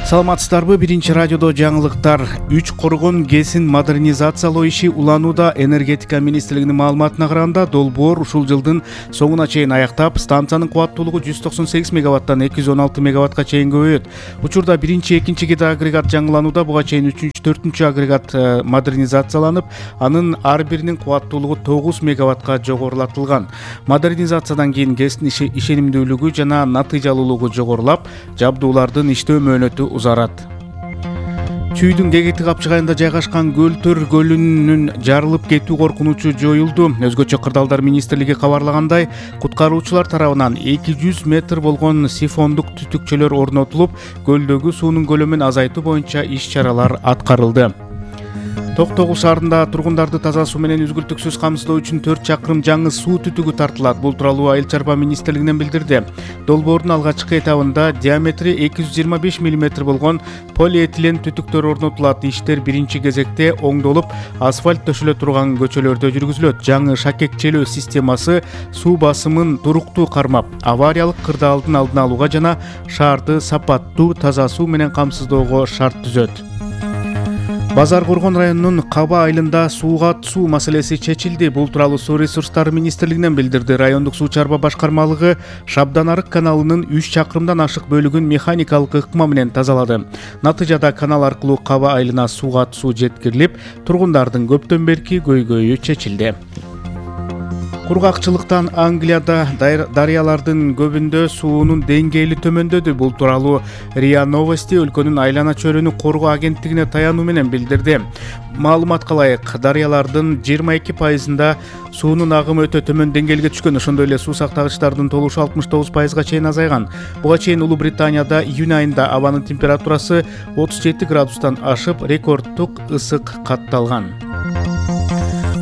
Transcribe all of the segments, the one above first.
Саламатсыздарбы? Биринчи радиодо жаңылыктар. 3 коргон ГЭСин модернизациялоо иши уланууда. Энергетика министрлигинин маалыматына караганда, долбоор ушул жылдын соңуна чейин аяктап, станциянын кубаттуулугу 198 мегаваттан 216 мегаватка чейин көбөйөт. Учурда 1-2 гидроагрегат жаңыланууда, буга чейин 3-4 агрегат модернизацияланып, анын ар биринин кубаттуулугу 9 мегаватка жогорулатылган. Модернизациядан кийин ГЭСтин ишенимдүүлүгү жана натыйжалуулугу жогорулап, жабдуулардын иштөө мөөнөтү узарат. Чүйдүн Кегети капчыгайында жайгашкан Көлтөр көлүнүн жарылып кетүү коркунучу жоюлду. Өзгөчө Кырдаалдар министрлиги кабарлагандай, куткаруучулар тарабынан 200 метр болгон сифондук түтүкчөлөр орнотулуп, көлдөгү суунун көлөмүн азайтуу боюнча иш-чаралар аткарылды. Токтогул шаарында тургундарды таза суу менен үзгүлтүксүз камсыздоо үчүн 4 чакырым жаңы суу түтүгү тартылат. Бул тууралуу Айыл чарба министрлигинен билдирди. Долбоордун алгачкы этабында диаметри 225 мм болгон полиэтилен түтүктөр орнотулат. Иштер биринчи кезекте оңдолуп, асфальт төшөлө турган көчөлөрдө жүргүзүлөт. Жаңы шакекчелөө системасы суу басымын туруктуу кармап, авариялык кырдаалдын алдын алууга жана шаарды сапаттуу таза суу менен камсыздоого шарт түзөт. Базар Коргон районунун Каба айылында суу маселеси чечилди. Бул тууралуу Суу ресурстары министрлигинен билдирди. Райондук суу чарба башкармалыгы Шабдан-Арык каналынын 3 чакырымдан ашык бөлүгүн механикалык ыкма менен тазалады. Натыйжада канал аркылуу Каба айылына суу жеткирилип, тургундардын көптөн берки көйгөйү чечилди. Кургакчылыктан Англияда дарыялардын көбүндө суунун деңгээли төмөндөдү. Бул тууралуу РИА Новости өлкөнүн айлана чөйрөнү коргоо агенттигине таянуу менен билдирди. Маалыматка ылайык, дарыялардын 22%-ында суунун агымы өтө төмөн деңгээлге түшкөн. Ошондой эле суу сактагычтардын толушу 69%-га чейин азайган. Буга чейин Улуу Британияда июнь айында абанын температурасы 37 градустан ашып, рекордтук ысык катталган.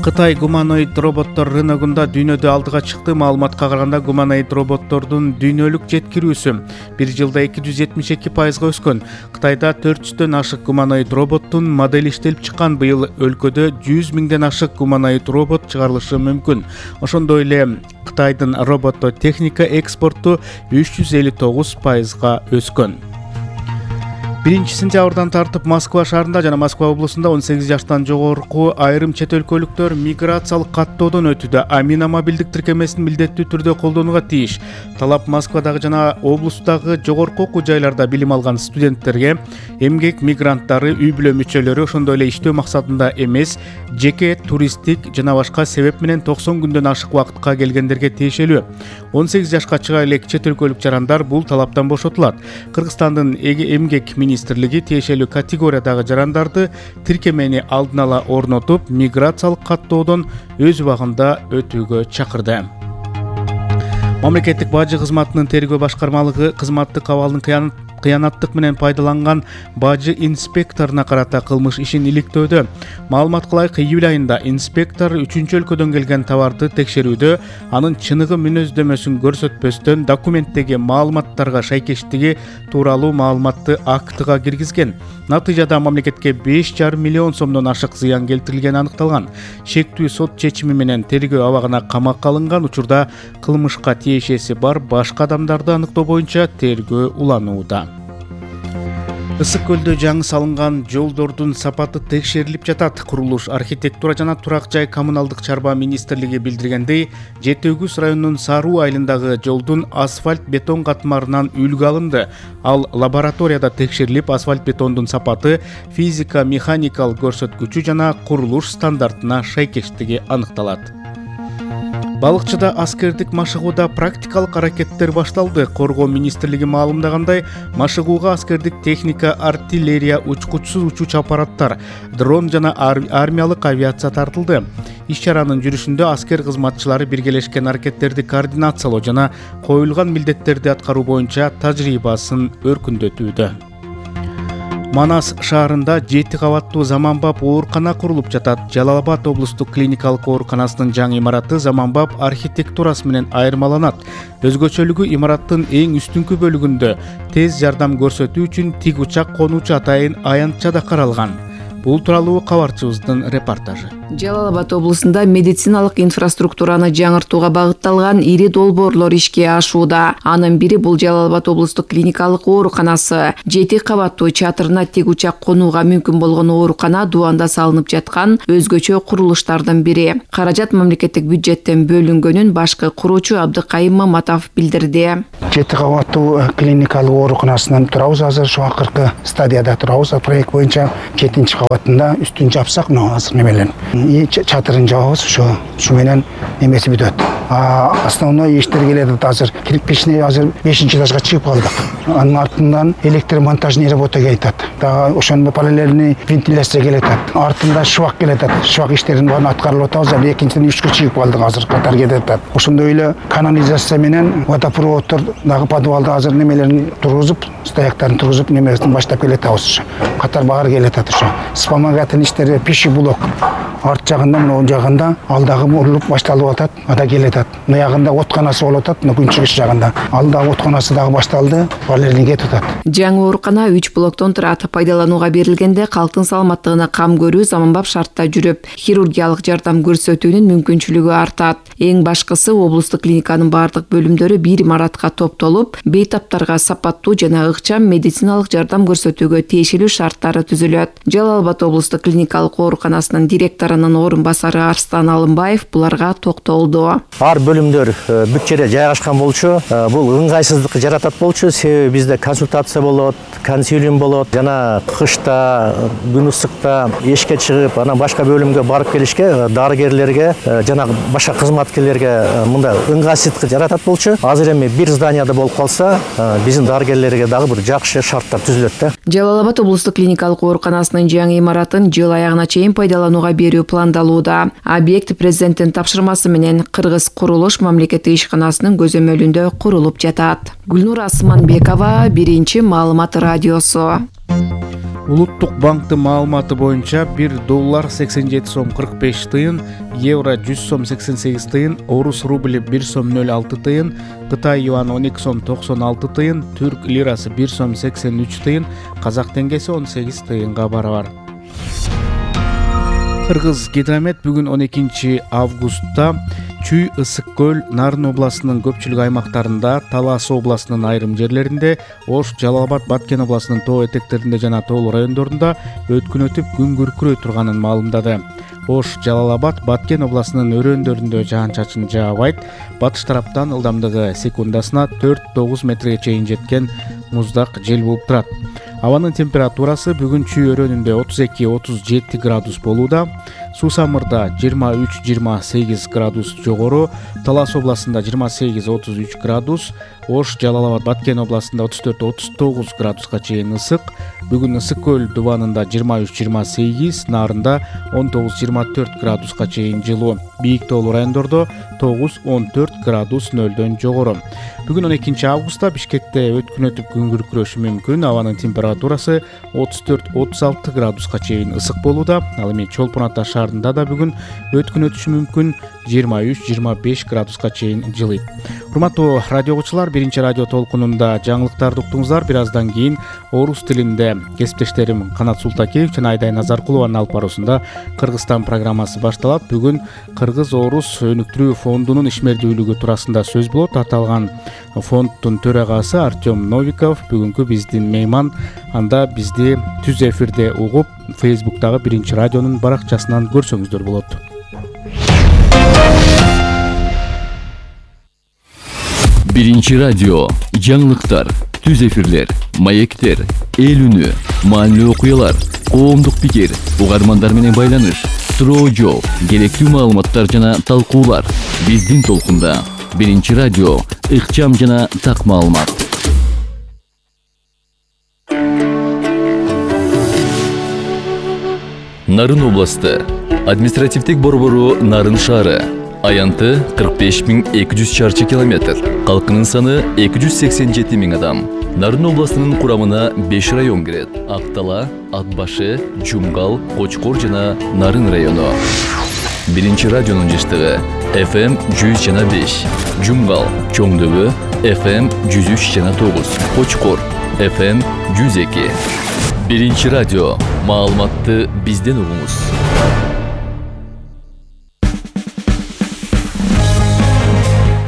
Кытай гуманоид роботтор рыногунда дүйнөдө алдыга чыкты. Маалыматка караганда, гуманоид роботтордун дүйнөлүк жеткирүүсү 1 жылда 272%-га өскөн. Кытайда 400дөн ашык гуманоид роботтун модели иштелип чыккан. Быйыл өлкөдө 100 миңден ашык гуманоид робот чыгарылышы мүмкүн. Ошондой эле Кытайдын робототехника экспорту 359%-га өскөн. 1-сентябрдан тартып Москва шаарында жана Москва облусунда 18 жаштан жогорку айрым чет өлкөлүктөр миграциялык каттоодон өтүүдө. Амина мобилдик тиркемесин милдеттүү түрдө колдонууга тийиш. Талап Москвадагы жана облустагы жогорку окуу жайларда билим алган студенттерге, эмгек мигранттары, үй-бүлө мүчөлөрү, ошондой эле иштөө максатында эмес, жеке туристтик жана башка себеп менен 90 күндөн ашык убакытка келгендерге тиешелүү. 18 жашка чыга элек чет өлкөлүк жарандар бул талаптан бошотулат. Кыргызстандын эмгек министрлиги тиешелүү категориядагы жарандарды тиркемени алдын ала орнотуп, миграциялык каттоодон өз убагында өтүүгө чакырды. Мамлекеттик бажы кызматынын тергөө башкармалыгы кызматтык абалдын кыянаттык менен пайдаланган бажы инспекторуна карата кылмыш ишин иликтөөдө. Маалыматка ылайык, июль айында инспектор 3 өлкөдөн келген товарды текшерүүдө анын чыныгы мүнөздөмөсүн көрсөтпөстөн документтеги маалыматтарга шайкештиги тууралуу маалыматты актыга киргизген. Натыйжада мамлекетке 5,5 миллион сомдон ашык зыян келтирилгени аныкталган. Шектүү сот чечими менен тергөө абагына камакка алынган. Учурда кылмышка тиешеси бар башка адамдарды аныктоо боюнча тергөө уланууда. Ысык көлдө жаңы салынган жолдордун сапаты текшерилип жатат. Курулуш, архитектура жана турак жай коммуналдык чарба министрлиги билдиргендей, Жети Өгүз районунун Саруу айылындагы жолдун асфальт бетон катмарынан үлгү алынды. Ал лабораторияда текшерилип, асфальт бетондун сапаты, физика, механикалык көрсөткүчү жана курулуш стандартына шайкештиги аныкталат. Балыкчыда аскердик машыгууда практикалык аракеттер башталды. Коргоо министрлиги маалымдагандай, машыгууга аскердик техника, артиллерия, учкучсуз учууч аппараттар, дрон жана армиялык авиация тартылды. Иш-чаранын жүрүшүндө аскер кызматчылары биргелешкен аракеттерди координациялоо жана коюлган милдеттерди аткаруу боюнча тажрыйбасын өркүндөтүүдө. Манас шаарында 7 кабаттуу заманбап оорукана курулуп жатат. Жалал Абад облустук клиникалык ооруканасынын жаңы имараты заманбап архитектурасы менен айырмаланат. Өзгөчөлүгү имараттын эң үстүнкү бөлүгүндө тез жардам көрсөтүү үчүн тик учак конуучу атайын аянтча да каралган. Бул тууралуу кабарчыбыздын репортажы. Жалал Абад облусунда медициналык инфраструктураны жаңыртууга багытталган ири долбоорлор ишке ашууда. Анын бири бул Жалал Абад облустук клиникалык ооруканасы. 7 кабаттуу чатырына тик учак конууга мүмкүн болгон оорукана Дубанда салынып жаткан өзгөчө курулуштардын бири. Каражат мамлекеттик бюджеттен бөлүнгөнүн башкы куруучу Абдыкайым Маматов билдирди. 7 кабаттуу клиникалык ооруканасынан турабыз. Азыр şu акыркы стадияда турабыз. Проект боюнча 7-чи кабатында үстүн жапсак, азыр немелен чатырын жабабыз, şu менен эмеси бүтөт. Основной иштер келет азыр. Кирпичный азыр 5-чи этажга чыгып калдык. Анын артынан электромонтажный работа келет. Ошондо параллельный вентиляция келет. Артында швак келет. Швак иштерин баарын аткарылып атабыз. Азыр экинчиден 3кө чыгып калдык, азыр катар кетет. Ошондой эле канализация менен водопроводдор дагы подвалда азыр немелерин тургузуп, стояктарын тургузуп, немесин баштап келет атабыз. Катар багар келет ошо. Вспомогательный иштери пищи блок арт жагында, мына оң жагында алдагы урулуп башталып атат. Ада келет. Мына ягында отканасы болуп атат, мына күнчүгүш жагында. Алдагы отканасы дагы башталды, балерин кетип атат. Жаңы оорукана 3 блоктон турат. Пайдаланууга берилгенде калктын саламаттыгына кам көрүү заманбап шартта жүрүп, хирургиялык жардам көрсөтүүнүн мүмкүнчүлүгү артат. Эң башкысы облустук клиниканын бардык бөлүмдөрү бир имаратка топтолуп, бейтаптарга сапаттуу жана ыкчам медициналык жардам көрсөтүүгө тиешелүү шарттары түзүлөт. Жалал Абад облустук клиникалык ооруканасынын директорунун орун басары Арстан Алымбаев буларга токтолду. Ар бөлүмдөр бүт жерде жайгашкан болчу. Бул ыңгайсыздыкты жаратат болчу. Себеби бизде консультация болот, консилиум болот. Жана кышта, күн ысыкта эшикке чыгып, анан башка бөлүмгө барып келишке дарыгерлерге жана башка кызматкерлерге мындай ыңгайсыздык жаратат болчу. Азыр эми бир зданияда болуп калса, биздин дарыгерлерге дагы бир жакшы шарттар түзүлөт да. Жалал Абад облустук клиникалык ооруканасынын жаңы имаратын жыл аягына чейин пайдаланууга берүү пландалууда. Объект президенттин тапшырмасы менен Кыргыз курулуш мамлекеттик ишканасынын көзөмөлүндө курулуп жатат. Гүлнур Асманбекова, 1 маалымат радиосу. Улуттук банктын маалыматы боюнча $1 87 сом 45 тыйын, евро 100 сом 88 тыйын, орус рубли 1 сом 06 тыйын, Кытай юаны 12 сом 96 тыйын, түрк лирасы 1 сом 83 тыйын, казак теңгеси 18 тыйынга барабар. Кыргыз Гидромет бүгүн 12 августта Чүй, Ысык көл, Нарын областынын көпчүлүк аймактарында, Талас областынын айрым жерлеринде, Ош, Жалал Абад, Баткен областынын тоо этектеринде жана тоолуу райондорунда өткүн өтүп күн күркүрөй турганын маалымдады. Ош, Жалал Абад, Баткен областынын өрөөндөрүндө жаан-чачын жаабайт. Батыш тараптан ылдамдыгы секундасына 4-9 метрге чейин жеткен муздак жел болуп турат. Абанын температурасы бүгүн Чүй өрөөнүндө 32-37 градус болууда. Сусамырда 23-28 градус жогору, Талас областында 28-33 градус, Ош, Жалал Абад, Баткен областында 34-39 градуска чейин ысык. Бүгүн Ысык көл дубанында 23-28, Нарында 19-24 градуска чейин жылуу. Бийик тоолуу райондордо 9-14 градус нөлдөн жогору. Бүгүн 12 августта Бишкекте өткүн өтүп күн күркүрөшү мүмкүн. Абанын температурасы 34-36 градуска чейин ысык болууда. Ал эми Чолпон Ата шаарында да бүгүн өткүн өтүшү мүмкүн. 23-25 градуска чейин жылыйт. Урматтуу радио угуучулар, 1 радио толкунунда жаңылыктарды уктуңуздар. Бир аздан кийин орус тилинде кесиптештерим Канат Султакеев жана Айдай Назаркулованын алып баруусунда Кыргызстан программасы башталат. Бүгүн Кыргыз-Орус өнүктүрүү фондунун ишмердүүлүгү туурасында сөз болот. Аталган фонддун төрагасы Артем Новиков бүгүнкү биздин мейман. Анда бизди түз эфирде угуп, Facebook'тагы 1 радионун баракчасынан көрсөңүздөр болот. Биринчи радио, жаңылыктар, түз эфирлер, маектер, эл үнү, маанилүү окуялар, коомдук пикир, угармандар менен байланыш, суроо жооп, керектүү маалыматтар жана талкуулар. Биздин толкунда. Биринчи радио, ыкчам жана так маалымат. Нарын областы, административдик борбору Нарын шаары. Аянты 45.200 чарчы километр. Калкынын саны 287.000 адам. Нарын областынын курамына 5 район кирет. Актала, Атбашы, Жумгал, Кочкор жана Нарын району. Биринчи радионун жыштыгы FM 100.5, Жумгал, Чоңдөбө, FM 103.9, Кочкор, FM 102. Биринчи радио, Маалыматты бизден угуңуз.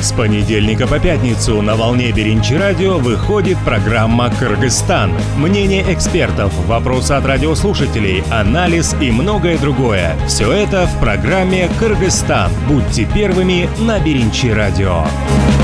С понедельника по пятницу на волне Биринчи радио выходит программа «Кыргызстан». Мнение экспертов, вопросы от радиослушателей, анализ и многое другое. Все это в программе «Кыргызстан». Будьте первыми на Биринчи радио.